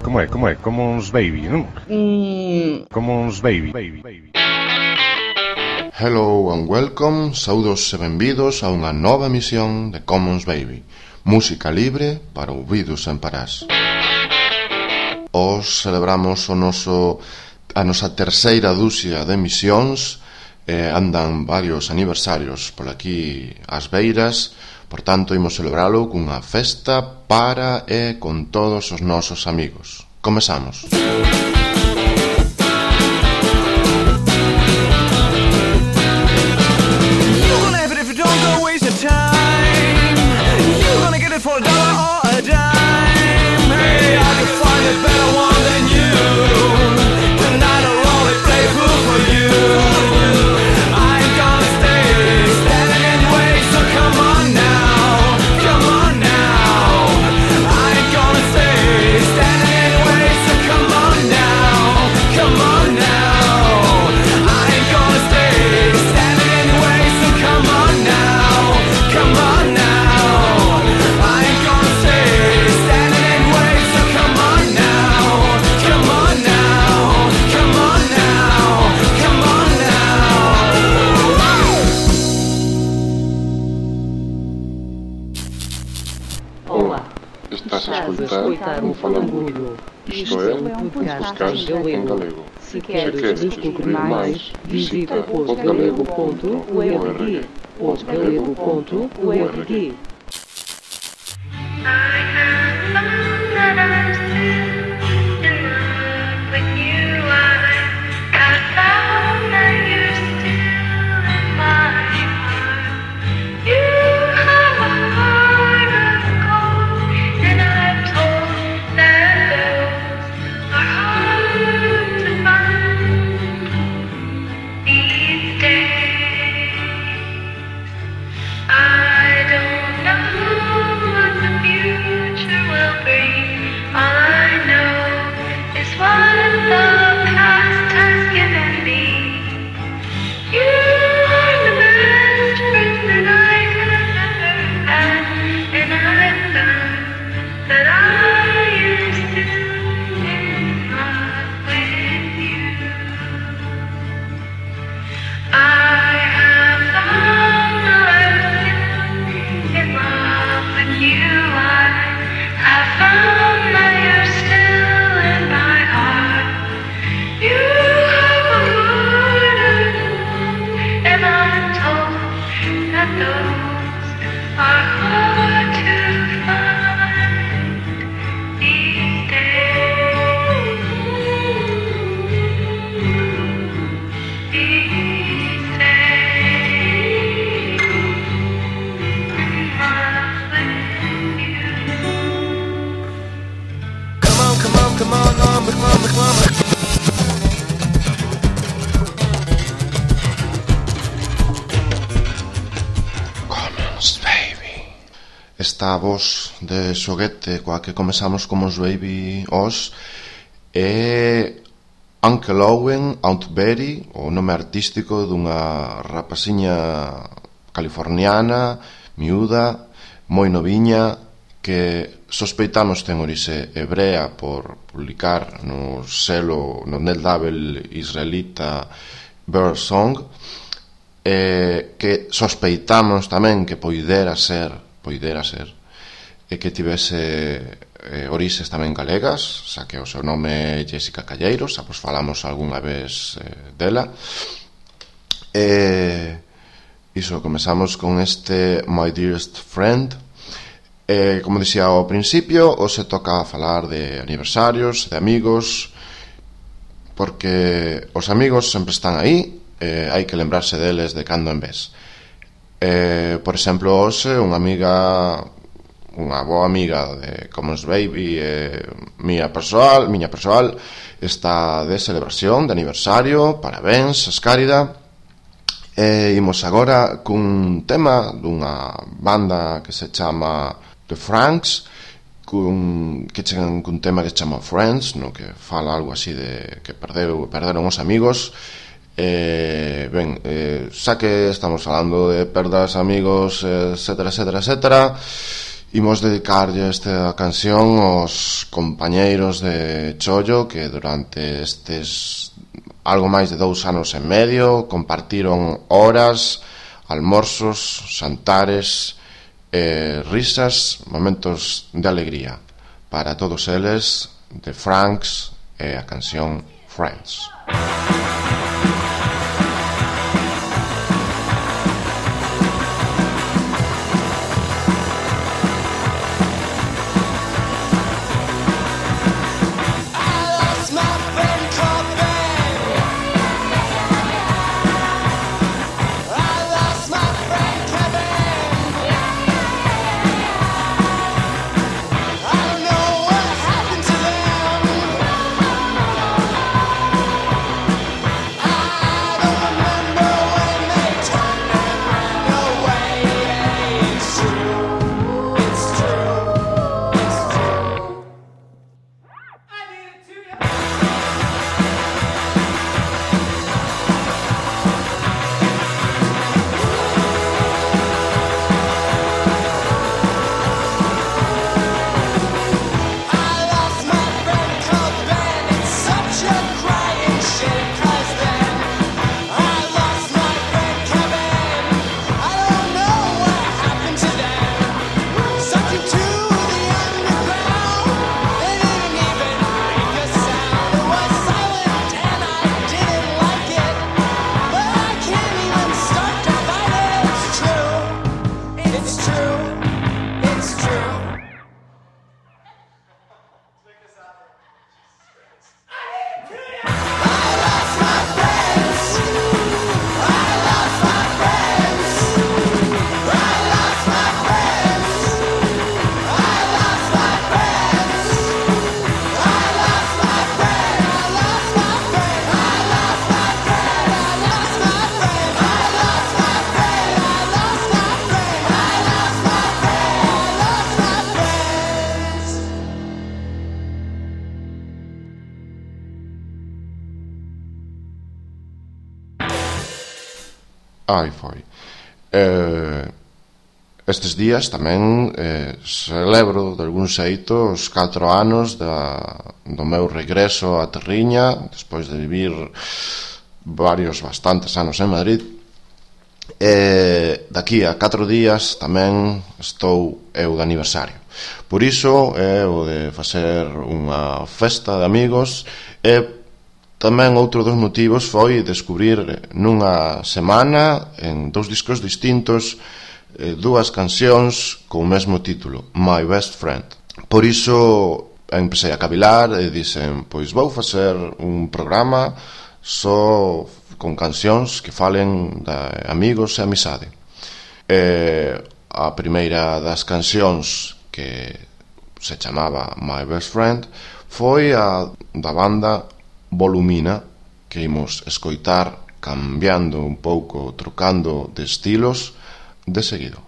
Como é? Como uns baby, non? Como uns baby. Hello and welcome, saudos e benvidos a unha nova emisión de Commons Baby, música libre para ouvidos en parás. Os celebramos a nosa terceira dúcia de emisións, andan varios aniversarios por aquí ás beiras, por tanto imos celebralo cunha festa para e con todos os nosos amigos. Comezamos. For a dollar or a dime, hey, I can find a better one than you. Tonight I'll only play fool for you. I ain't gonna stay standing in the way, so come on now, come on now. I ain't gonna stay standing in the way, so come on now, come on now. I ain't gonna stay standing in the way, so come on now, come on now. Estás a escutar o Falangudo. Isto é um podcast em galego. Se queres descobrir mais, visita podgalego.org. podgalego.org. Esta voz de xoguete coa que comezamos como os Baby Os é Uncle Owen Auntberry, o nome artístico dunha rapaziña californiana, miúda, moi noviña, que sospeitamos ten orixe hebrea por publicar no net label israelita Birdsong, que sospeitamos tamén que poidera ser e que tivese orixes tamén galegas, xa que o seu nome é Jessica Calleiros, xa vos falamos algunha vez dela. Iso, comezamos con este My Dearest Friend. Como dixía ao principio, hoxe toca falar de aniversarios, de amigos, porque os amigos sempre están aí, hai que lembrarse deles de cando en vez. Por exemplo, hoxe unha boa amiga de Commons Baby, miña persoal, está de celebración de aniversario, parabéns, escárida. Imos agora cun tema dunha banda que se chama The Franks, que chegan cun tema que se chama Friends, no que fala algo así de que perderon os amigos. Xa que estamos falando de perdas, amigos, etcétera, etcétera, etcétera, Imos dedicarlle esta canción aos compañeiros de Chollo que durante estes algo máis de 2 anos e medio compartiron horas, almorzos, xantares, risas, momentos de alegría. Para todos eles, The Franks e a canción Friends. Aí foi. Estes días tamén celebro de algún xeito os 4 anos do meu regreso a Terriña, despois de vivir bastantes anos en Madrid. Daqui a 4 días tamén estou eu de aniversario. Por iso o de facer unha festa de amigos. Tamén outro dos motivos foi descubrir nunha semana, en 2 discos distintos, 2 cancións con o mesmo título, My Best Friend. Por iso empecé a cavilar e dixen, pois vou facer un programa só con cancións que falen de amigos e amizade. A primeira das cancións, que se chamaba My Best Friend, foi a da banda Volumina, que imos escoitar cambiando un pouco, trocando de estilos de seguido.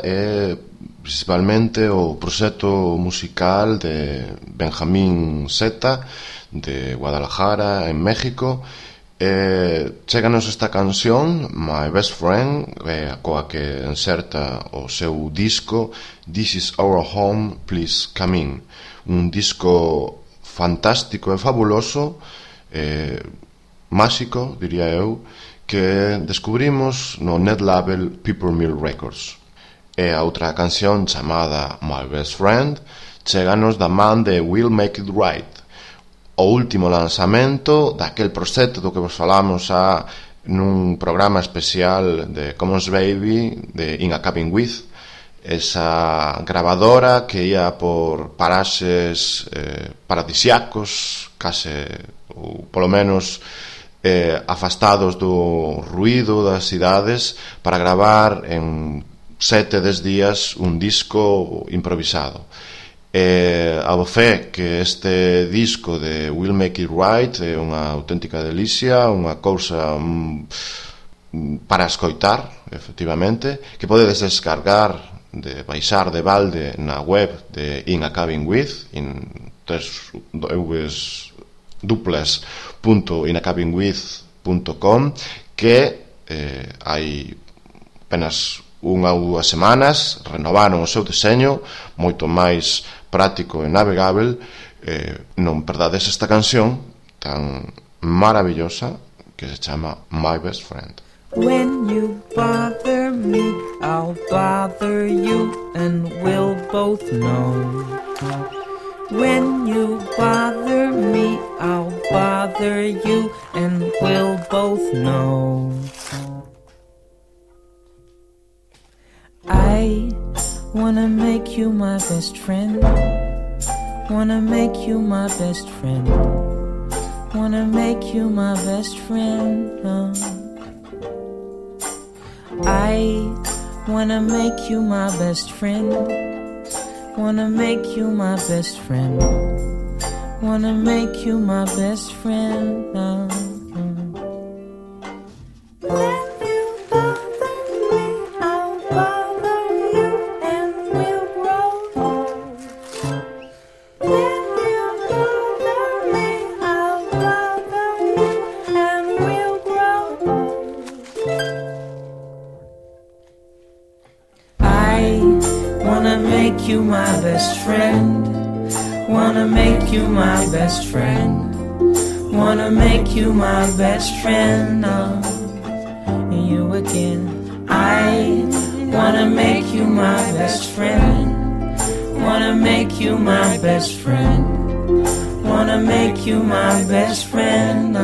é principalmente o proxecto musical de Benjamín Zeta de Guadalajara, en México. Cheganos esta canción, My Best Friend, coa que inserta o seu disco This Is Our Home, Please Come In. Un disco fantástico e fabuloso, máxico, diría eu, que descubrimos no net label Peppermill Records. E a outra canción chamada My Best Friend cheganos da man de We'll Make It Right, o último lanzamento daquel proxecto do que vos falamos nun programa especial de Commons Baby de In a Cabin With, esa grabadora que ia por paraxes paradisiacos, case, ou polo menos afastados do ruído das cidades, para gravar en 7-10 días un disco improvisado. A fe que este disco de We'll Make It Right é unha auténtica delicia, unha cousa para escoitar, efectivamente, que podedes descargar, de baixar de balde na web de In a Cabin With, www.inacabinwith.com, que hai apenas unha ou dúas semanas renovaron o seu deseño, moito máis práctico e navegável. Non perdades esta canción tan maravillosa que se chama My Best Friend. When you bother me, I'll bother you, and we'll both know. When you bother me, I'll bother you, and we'll both know. I wanna make you my best friend. Wanna make you my best friend. Wanna make you my best friend. I wanna make you my best friend. Wanna make you my best friend. Wanna make you my best friend. You my best friend, wanna make you my best friend, wanna make you my best friend, and you again. I wanna make you my best friend, wanna make you my best friend, wanna make you my best friend,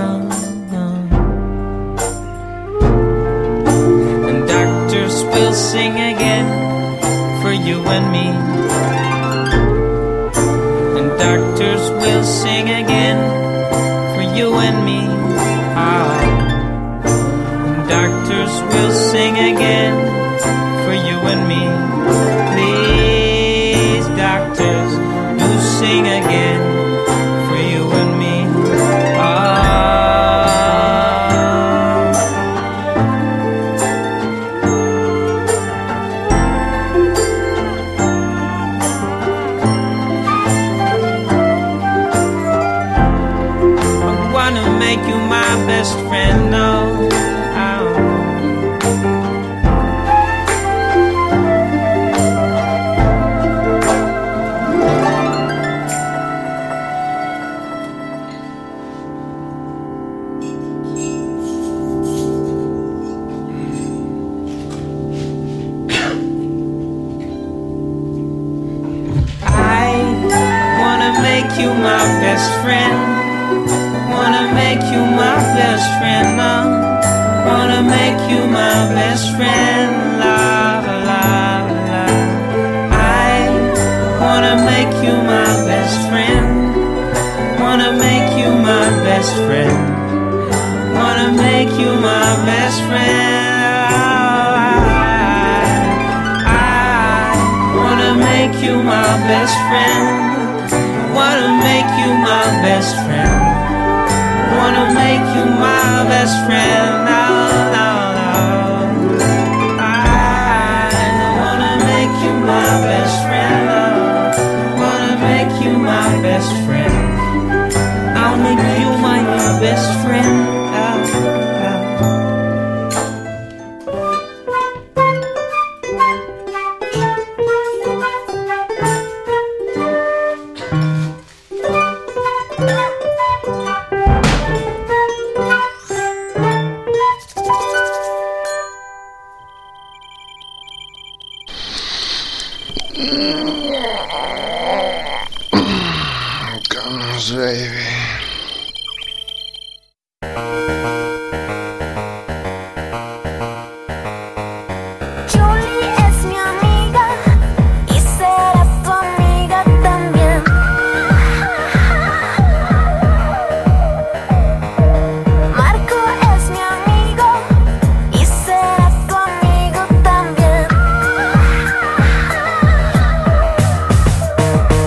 and doctors will sing again for you and me. And doctors will sing again for you and me. And doctors will sing again for you and me. Please, doctors, do sing again for you and me. Best friend, no. I wanna make you my best friend. Wanna make you my best friend, wanna make you my best friend, la la la. I wanna make you my best friend, wanna make you my best friend, wanna make you my best friend. I wanna make you my best friend, wanna make you my best friend. Wanna make you my best friend, no, no, no. I wanna make best friend. I'll make you my best friend. Comes, baby. Julie es mi amiga y será tu amiga también. Marco es mi amigo y será tu amigo también.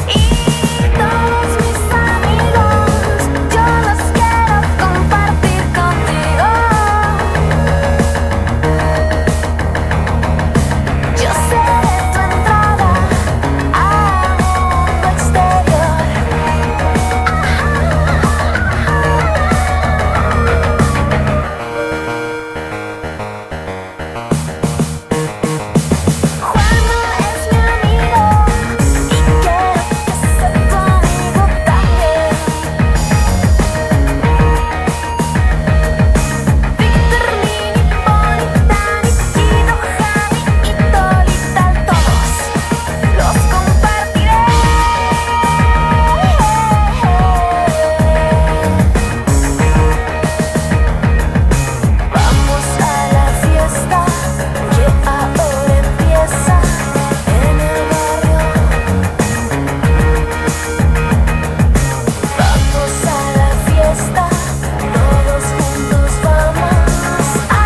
Y todos mis amigos yo los quiero compartir contigo. Yo seré tu entrada al mundo exterior. Juan es mi amigo y quiero que sea tu amigo también. Víctor, Lini, Poli, Dani, Guido, Javi y Tolita, todos los compartiré. Vamos a la fiesta que ahora empieza en el barrio. Vamos a la fiesta, todos juntos vamos a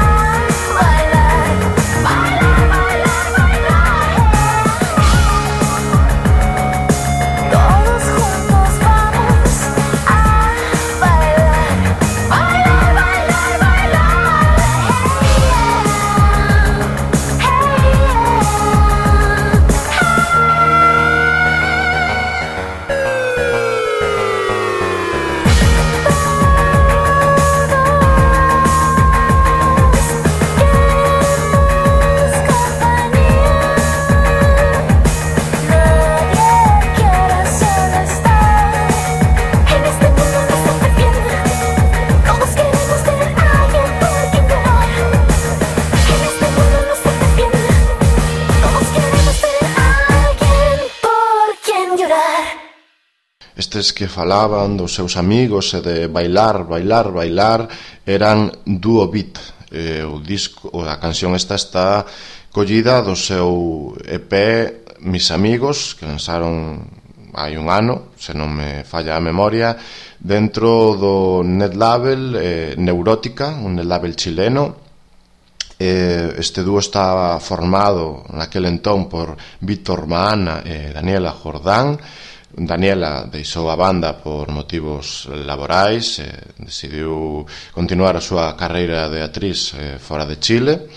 bailar, bailar, bailar, bailar. Todos juntos vamos a bailar, bailar, bailar, bailar. Nadie quiere solo estar en este mundo no está bien. Todos queremos tener a alguien por quien llorar. En este mundo no está bien. Todos queremos tener a alguien por quien llorar. Estes que falaban dos seus amigos e de bailar, bailar, bailar eran Duo Beat. O disco, a canción esta está collida do seu EP Mis Amigos, que lanzaron hai un ano, se non me falla a memoria, dentro do netlabel Neurótica, un netlabel chileno. Este dúo estaba formado naquel entón por Víctor Maana e Daniela Jordán. Daniela deixou a banda por motivos laborais, decidiu continuar a súa carreira de actriz fora de Chile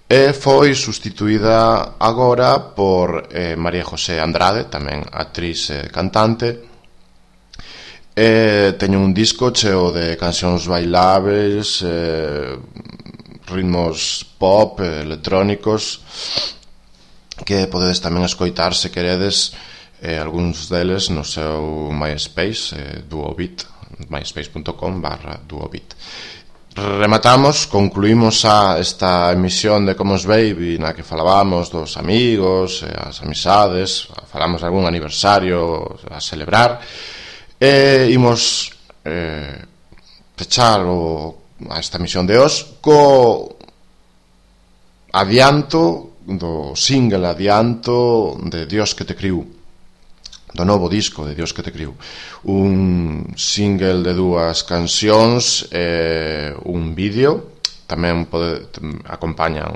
e foi sustituída agora por María José Andrade, tamén actriz e cantante. Teño un disco cheo de cancións bailables, ritmos pop, electrónicos, que podedes tamén escoitar se queredes, algúns deles no seu MySpace, Duobit, myspace.com/Duobit. Rematamos, concluímos esta emisión de Commons Baby, na que falábamos dos amigos, as amizades, falamos de algún aniversario a celebrar, e imos pechar a esta emisión de hoxe co adianto do single adianto de Dios que te criou, do novo disco de Dios que te criou, un single de 2 cancións e un vídeo. Tamén acompañan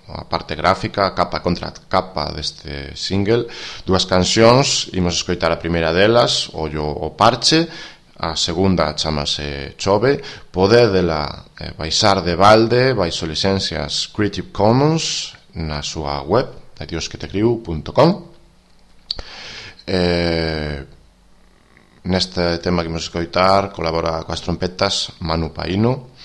a parte gráfica, capa contra capa deste single, 2 cancións. Imos escoitar a primeira delas, Ollo o Parche, a segunda chamase Chove. Podédela baixar de balde baixo licencias Creative Commons na súa web diosquetecriu.com. Neste tema que imos escoitar colabora coas trompetas Manu Paino.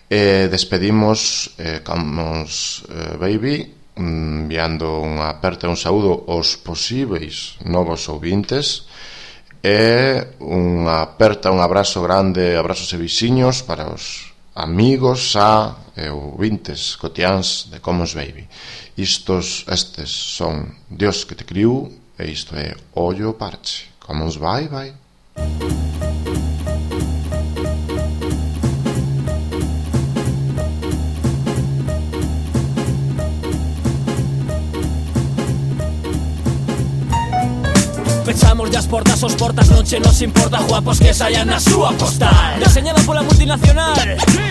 Despedimos Commons Baby enviando unha aperta e un saúdo aos posíveis novos ouvintes e unha aperta, un abrazo grande, abrazos e vixiños para os amigos e ouvintes cotiáns de Commons Baby. Estes son Dios que te criou e isto é Ollo Parche. Commons, bye bye. Pechamos as portas, os portas noche nos importa guapos que saian na súa postal. Deseñada pola multinacional.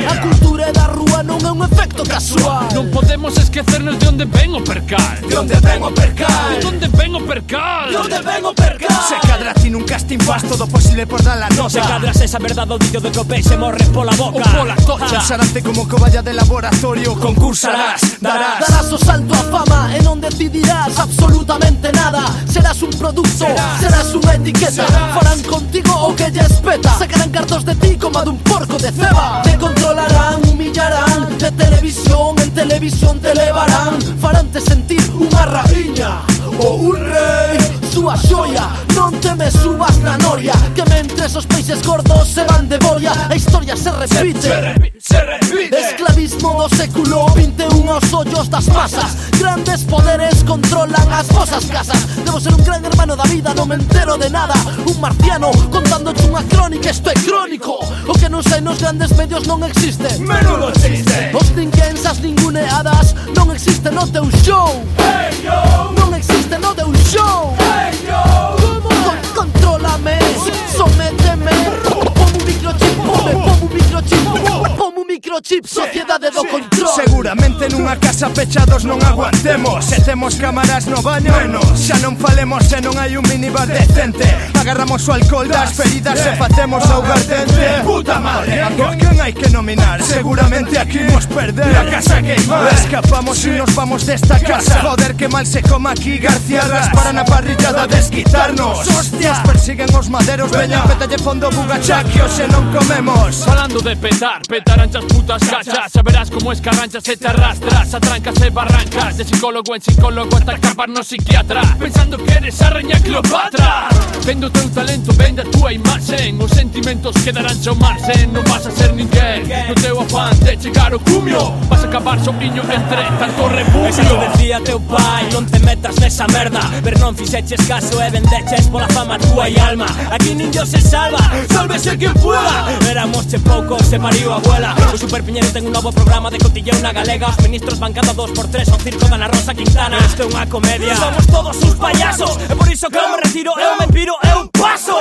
A cultura da rúa non é un efecto casual. Non podemos esquecernos de onde ven o percal. De onde ven o percal. De onde ven o percal. De onde ven o percal. Se cadra ti nun casting faz todo posible por dar la nota. Se cadras esa verdade o dillo de que o peixe morre pola boca. O pola tocha. Usarante como coballa de laboratorio. Concursarás, darás o salto a fama e non decidirás absolutamente nada. Serás un producto, serás unha etiqueta. Farán contigo o que lle espeta. Sacarán cartos de ti como a dun porco de ceba. Te controlarán, humillarán. De televisión en televisión te levarán. Faránte sentir unha raíña ou un rei. Súa xoia, non te me subas na noria. Que mentres os peixes gordos se van de boria, a historia se repite. se repite. Esclavismo do século 21 aos ollos das masas. Grandes poderes controlan as vosas casas. Debo ser un gran hermano da vida, non me entero de nada. Un marciano contándoche unha crónica, isto é crónico. O que non sai nos grandes medios non existe. Menudo chiste. Os ninguéns, as ninguneadas non existe no teu show. Hey yo, Non existe no teu show. hey yo. Contrólame, sométeme. Pon un microchip, pon un microchip. Pon un microchip, sociedade do control. Seguramente nunha casa pechados non aguantemos. Se temos cámaras no baño, menos. Xa non falemos se non hai un minibar decente. Agarramos o alcohol das feridas e facemos augardente. Puta madre, a quen hai que nominar? Seguramente aquí nos perder. La casa queimar. Escapamos e nos vamos desta casa. Joder, que mal se coma aquí. García para na parrillada desquitarnos. Hostias, persiguen os maderos. Veña, pétalle fondo bugachaque o se non comemos. Falando de petar, petarán as putas cachas. Saberás como escarranchas e te arrastras a trancas e barrancas. De psicólogo en psicólogo hasta acabar no psiquiatra, pensando que eres a reña Cleopatra. Vendo teu talento, vende a túa imaxen. Os sentimentos quedarán ao marxen. Non vas a ser ninguén no teu afán de chegar ao cumio. Vas a acabar sopiño entre tanto refugio. Esa te decía teu pai, non te metas nesa merda. Pero non fixeches caso e vendeches pola fama túa e alma. Aquí nin Dios se salva, sálvese quien pueda. Éramos che poucos, se pariu a abuela. O Superpiñero ten un novo programa de cotilleo na galega. Os ministros van cada 2x3 ao circo da Ana Rosa Quintana. Isto é unha comedia, somos todos uns payasos. E por iso que eu me retiro, eu me piro, eu paso.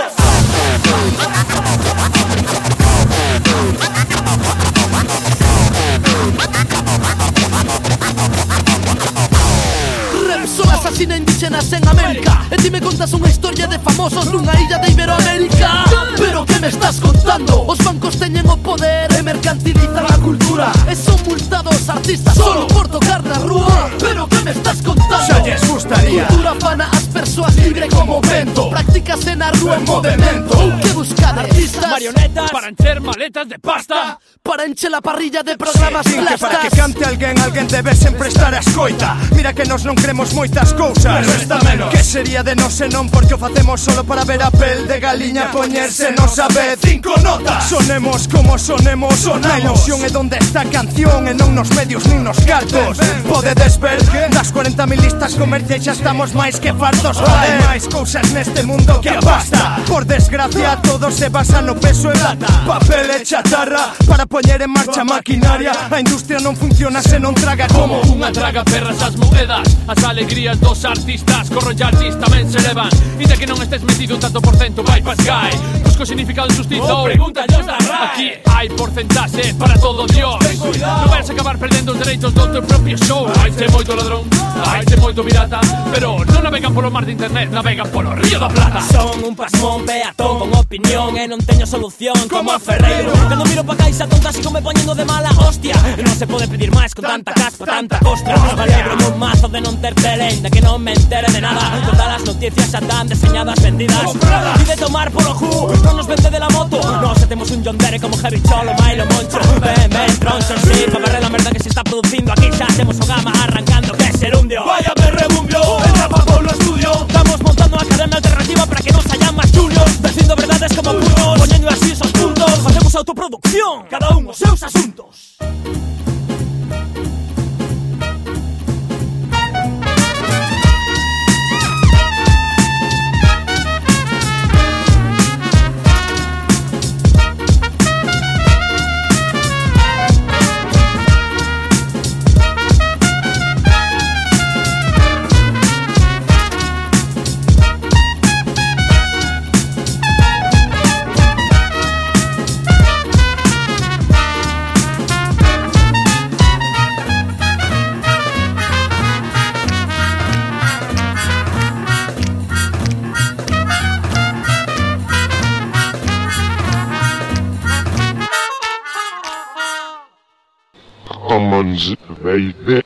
Repsol asasina indígenas en América. E ti me contas unha historia de famosos nunha illa de Iberoamérica. Pero que me estás contando? Os bancos teñen o poder e mercantilizan a cultura. E son multados artistas solo por tocar na rúa. Pero que me estás contando? Xa lles gustaría. Cultura fana as persoas libre como vento. Practícase na rúa en movimento. Ou que buscar artistas, marionetas Para encher maletas de pasta. para enche la parrilla de programas Din que para que plastas. cante alguén debe sempre estar a escoita. Mira que nos non cremos moitas cousas, pero esta menos. Que sería de nós e non porque o facemos solo para ver a pel de galiña poñerse nos a vez. 5 notas. Sonemos como sonemos, sonamos. A ilusión é donde está a canción e non nos medios nin nos cartos. Podedes ver das 40.000 listas comerciais xa estamos máis que fartos. Hai máis cousas neste mundo que a pasta. Por desgracia todo se basa no peso e lata, papel e chatarra para poñer en marcha a maquinaria. A industria non funciona se non traga como Unha traga perras as moedas, as alegrías dos artistas. Corrollartis tamén se levan. E de que non estés metido un tanto por cento, vai pa Sky. Busco significado injustizo, pregunta Dios da RAI. Aquí hai porcentaxe para todo Dios. Non vais a acabar perdendo os dereitos do teu propio show. Haite moito ladrón, haite moito pirata, pero non navegan polo mar de internet, navegan polo río da Plata. son un pasmón peatón con opinión e non teño solución como a Ferreiro. Cando miro pa caixa tonta sigo me poñendo de mala hostia, e non se pode pedir máis con tanta caspa, tanta costra. Valebro un mazo de non ter tele, ainda que non me entere de nada. Todas as noticias xa dan deseñadas, vendidas. E de tomar polo ju, non nos vende de la moto. Nos temos un John Dere como Heavy Cholo, Milo Moncho. Ven, troncho, sí, pa barrer la merda que se está producindo aquí. Xa temos o gama arrancando que es serundio. Vaya me rebumbio, entra pa Pablo Estudio. Estamos montando a academia alternativa para que nos hayan más juniors, dicindo verdades como puros, poñendo así esos puntos. Facemos autoproducción, cada un os seus asuntos. Commons, baby.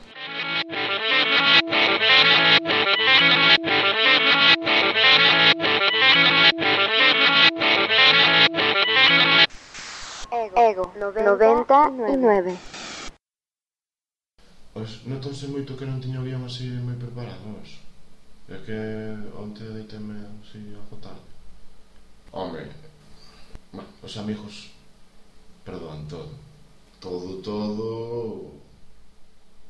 Ego 99. Pois notonse moito que non tiño guión así moi preparados. É que onte deiteme así a tarde. Home, os amigos perdoan todo. Todo